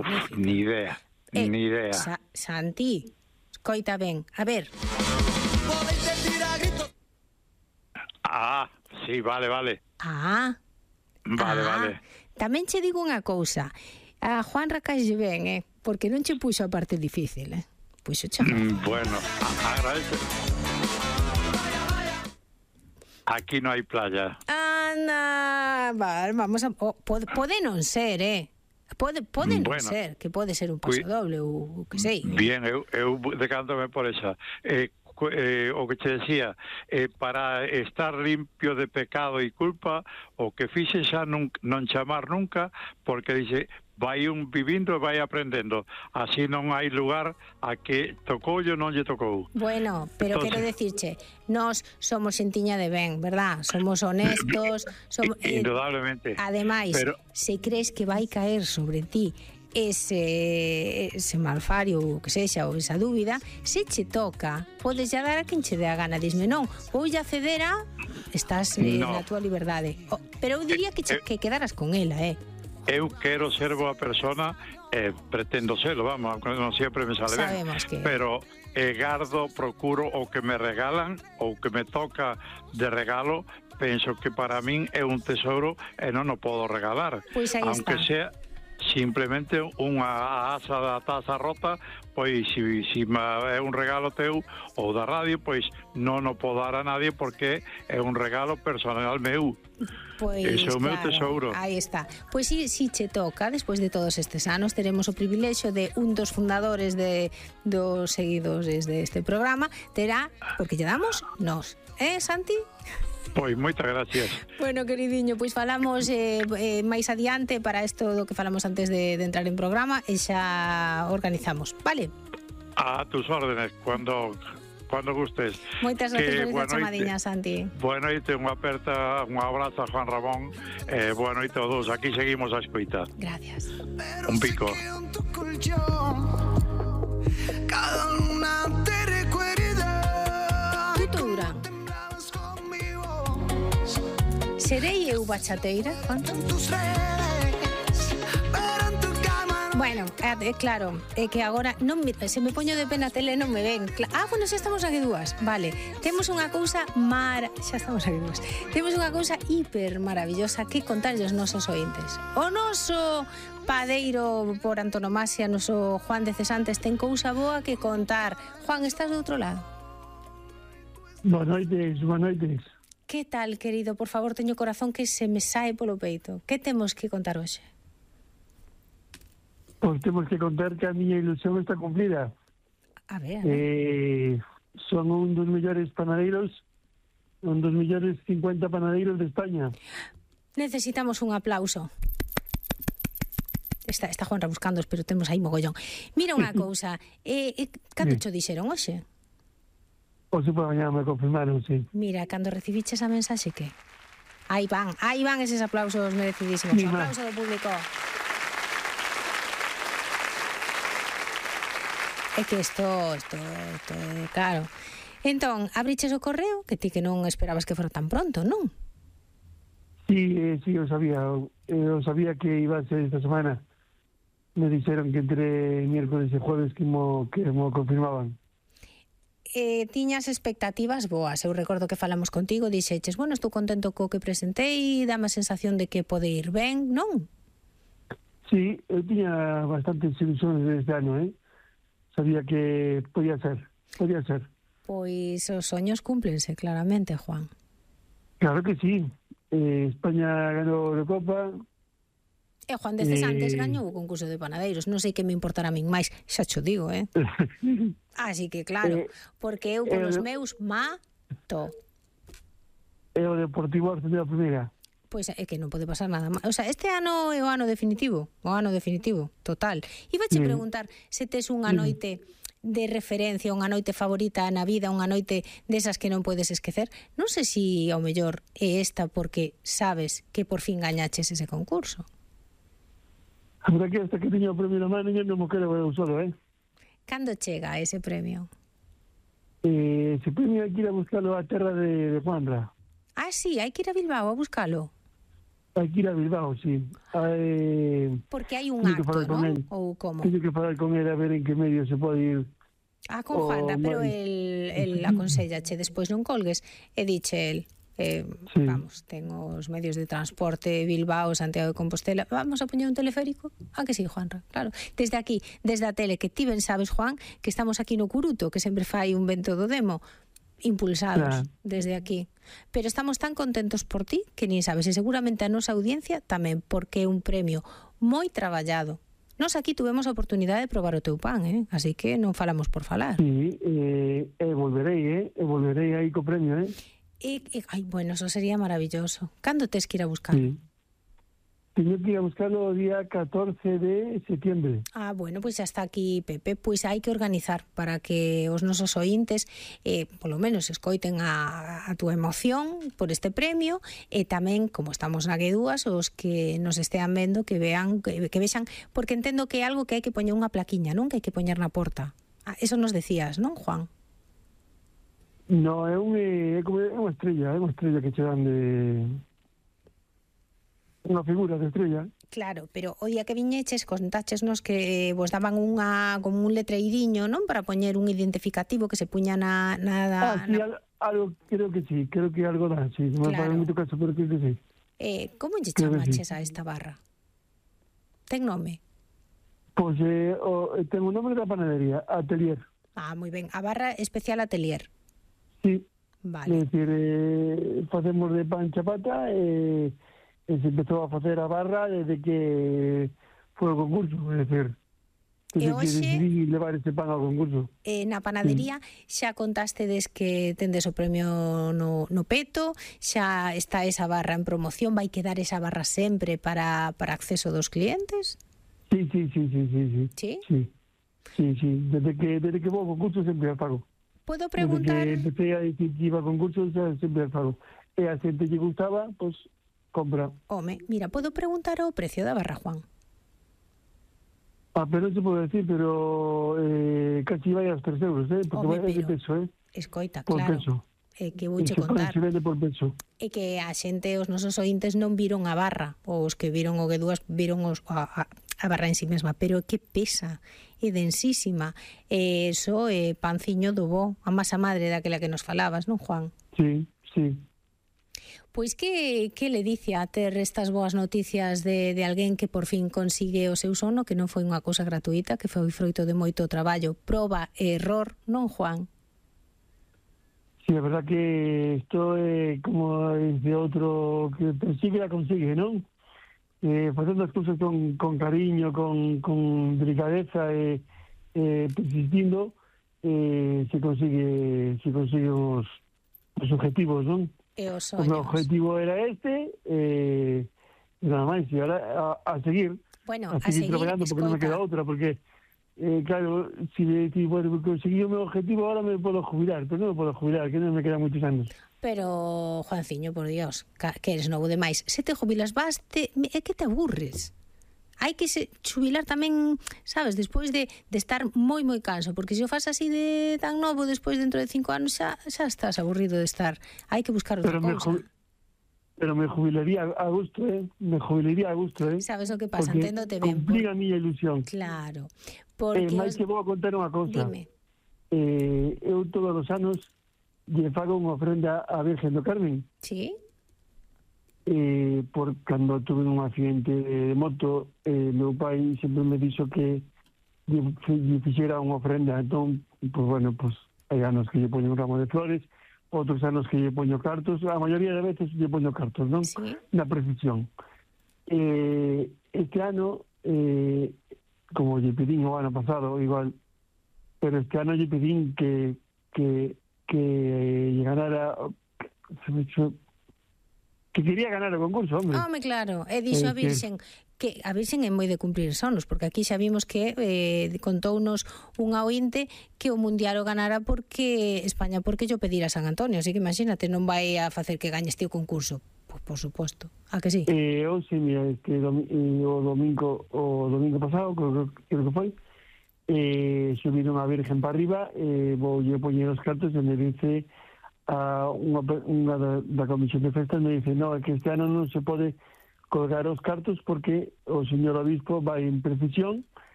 magnífica. Ni idea, ni idea. Santi, escoita ben, a ver. Sí, vale. Vale. Tamén che digo unha cousa. A Juan Racalle ben, porque non che puxo a parte difícil, Puxo che. Bueno, agradece. Aquí no hai playa. Anda, vale, vamos a... pode non ser, Pode non ser, que pode ser un paso doble ou que sei. Bien, eu decántome por esa. O que te decía, para estar limpio de pecado e culpa, o que fixe xa non chamar nunca, porque dice, vai un vivindo e vai aprendendo. Así non hai lugar a que tocou ou non lle tocou. Bueno, pero entonces, quero decirche, nós somos xentiña de ben, verdad? Somos honestos, indudablemente. Ademais, se crees que vai caer sobre ti ese malfario ou que sexa, ou esa dúbida, se che toca, podes ya dar a quen che dé a gana. Disme, non, vou ya ceder a... Estás na tua liberdade. Pero eu diría que quedaras con ela, Eu quero ser boa persona, pretendo serlo, vamos, non sempre me sale ben. Pero gardo, procuro o que me regalan ou que me toca de regalo, penso que para min é un tesouro e non o podo regalar. Pois aí aunque está. Sea simplemente unha asa da taza rota, pois se é un regalo teu ou da radio, pois non o podo dar a nadie porque é un regalo personal meu. Pois, ese é o meu tesouro. Aí está. Pois si che toca, despois de todos estes anos, teremos o privilexio de un dos fundadores dos seguidores deste programa, terá, porque lle damos nós. Santi? Pois, moitas gracias. Bueno, queridiño, pois falamos máis adiante para isto do que falamos antes de entrar en programa e xa organizamos, vale? A tus órdenes, cuando gustes. Moitas gracias por esta chamadiña, Santi. Boa noite, un abrazo a Juan Ramón, boa noite a todos, aquí seguimos a escoita. Gracias. Un pico. Cada luna te recuerda. Tuto Durán. Serei eu bachateira, Juan? Bueno, claro, é que agora se me poño de pena a tele non me ven. Bueno, xa estamos aquí dúas. Vale, temos unha cousa xa estamos aquí dúas. Temos unha cousa hiper maravillosa que contarlle aos nosos ointes. O noso padeiro por antonomasia, noso Juan de Cesantes, ten cousa boa que contar. Juan, estás do outro lado? Boas noites. Que tal, querido? Por favor, teño o corazón que se me sae polo peito. Que temos que contar hoxe? Pois temos que contar que a miña ilusión está cumplida. A ver. Son un dos mellores panadeiros, un dos mellores 50 panadeiros de España. Necesitamos un aplauso. Está Juan buscando, pero temos aí mogollón. Mira unha cousa, cando cho dixeron hoxe? Hoxe por mañana me confirmaron, sí. Mira, cando recibiches a mensaxe, que? Aí van eses aplausos merecidísimos. Un aplauso do público. É que isto é claro. Entón, abriches o correo, que ti que non esperabas que fora tan pronto, non? Sí, eu sabía que iba a ser esta semana. Me dixeron que entre miércoles e jueves que mo confirmaban. Tiñas expectativas boas. Eu recordo que falamos contigo, dixeches, bueno, estou contento co que presentei, dame a sensación de que pode ir ben, non? Sí, eu tiña bastantes ilusiones este ano, Sabía que podía ser. Pois os soños cúmplense, claramente, Juan. Claro que sí. España ganou a Copa. E Juan de Cesantes gañou o concurso de panadeiros. Non sei que me importará a min máis, xa cho digo, Así que claro, porque eu polos meus mato. E o Deportivo ascendeu a primeira. Pois é que non pode pasar nada máis. O sea, este ano é o ano definitivo, total. Ibache preguntar se tes unha noite de referencia, unha noite favorita na vida, unha noite desas que non podes esquecer. Non sei se ao mellor é esta porque sabes que por fin gañaches ese concurso. A verdad que hasta que tiña o premio na mano non mo quero eu solo, Cando chega ese premio? Ese premio hai que ir a buscalo á terra de Juanra. Sí, hai que ir a Bilbao a buscalo. Hai que ir a Bilbao, sí. Porque hai un Teño que acto, falar con non? el. Ou como? Teño que falar con él a ver en que medio se pode ir. Con Juanra, pero máis. el aconsellache, despois non colgues, e diche el, Sí. vamos, ten os medios de transporte Bilbao, Santiago de Compostela, vamos a poñer un teleférico? Que sí, Juanra, claro. Desde aquí, desde a tele, que ti ben sabes, Juan, que estamos aquí no Curuto, que sempre fai un vento do demo, impulsados desde aquí. Pero estamos tan contentos por ti que nin sabes, e seguramente a nosa audiencia tamén, porque é un premio moi traballado. Nos aquí tuvemos a oportunidade de probar o teu pan, así que non falamos por falar. Sí, volverei aí co premio, Bueno, eso sería maravilloso. Cando tes que ir a buscar? Sí. Teño que ir a buscarlo o día 14 de septiembre. Bueno, pois xa está aquí, Pepe. Pois hai que organizar para que os nosos ointes polo menos escoiten a túa emoción por este premio, e tamén, como estamos na G2, os que nos estean vendo que vean, que vexan, porque entendo que é algo que hai que poñer unha plaquiña, non? Que hai que poñer na porta. Eso nos decías, non, Juan? No, é unha estrella que che dan de... Unha figura de estrella. Claro, pero o día que viñeches contáchesnos que vos daban como un letreiriño, non? Para poñer un identificativo que se puña na sí, algo, creo que sí, creo que algo dan, sí. Non me fai moito caso, pero creo que sí. Como lle chamaches a esta barra? Ten nome? Pois ten o nome da panadería, Atelier. Moi ben, a barra especial Atelier. Sí. Vale. É dicir, facemos de pan chapata e se empezou a facer a barra desde que foi o concurso, é dicir, desde que decidí levar ese pan ao concurso. Na panadería xa contastedes que tendes o premio no peto, xa está esa barra en promoción, vai quedar esa barra sempre para acceso dos clientes? Sí. Sí? Sí. Desde que vou ao concurso sempre a pago. Podo preguntar... Desde que empecé a decir que iba a concurso, sempre a pago. E a xente que gustaba, pois, compra. Mira, podo preguntar o precio da barra, Juan? Pero non se pode decir, pero casi vai aos 3 euros, porque vai de peso, Escoita, por claro. Peso. Que vouche contar. Se vende por peso. E que a xente, os nosos ointes non viron a barra, os que viron o G2 viron a barra en sí mesma, pero que pesa, é densísima, eso é panciño do bo, a masa madre daquela que nos falabas, non, Juan? Sí. Pois que le dice a ter estas boas noticias de alguén que por fin consigue o seu sono, que non foi unha cousa gratuita, que foi froito de moito traballo, proba e error, non, Juan? Sí, a verdad que isto é como dice outro, que persigue a consigue, non? Facendo as cousas con cariño, con delicadeza e persistindo, se consigue os objetivos, non? E os O meu soños. objetivo era nada máis, e ahora a seguir. Bueno, a seguir traballando, porque non me queda outra, porque claro, si conseguí o meu objetivo, ahora me podo jubilar, pero non me podo jubilar, que non me quedan moitos anos. Pero, Juanciño, por Dios, que eres novo demais, se te jubilas é que te aburres. Hai que xubilar tamén, sabes, despois de estar moi canso, porque se o fas así de tan novo, despois dentro de 5 anos xa estás aburrido de estar. Hai que buscar outra cousa. Pero me jubilaría a gusto, Me jubilaría a gusto, Sabes o que pasa? Porque Enténdote ben. Cumplí a miña ilusión. Claro. Porque máis que vou a contar unha cousa. Dime. Eu todos os anos lle fago unha ofrenda á Virgen do Carmen. Sí? Por cando tuve un accidente de moto, meu pai sempre me dixo que lle fixera unha ofrenda. Entón, hai anos que lle poño un ramo de flores, outros anos que lle poño cartos, a maioría de veces lle poño cartos, non? Sí. Na precisión. Este ano, como lle pedín o ano pasado, igual, pero este ano lle pedín que ganara... que quería ganar o concurso, hombre. Claro, e dixo a Virxen que a Virxen é moi de cumplir sonos, porque aquí xa vimos que contounos unha ointe que o Mundial o ganara porque España, porque yo pedir a San Antonio, así que imagínate, non vai a facer que gañes ti o concurso. Pois por suposto, a que sí? Sí, mira, o domingo pasado, creo que foi, subiron a Virgen para arriba, voulle poñer os cartos e me dice unha da comisión de festas, me dice, no, é que este ano non se pode colgar os cartos porque o señor obispo vai en precisión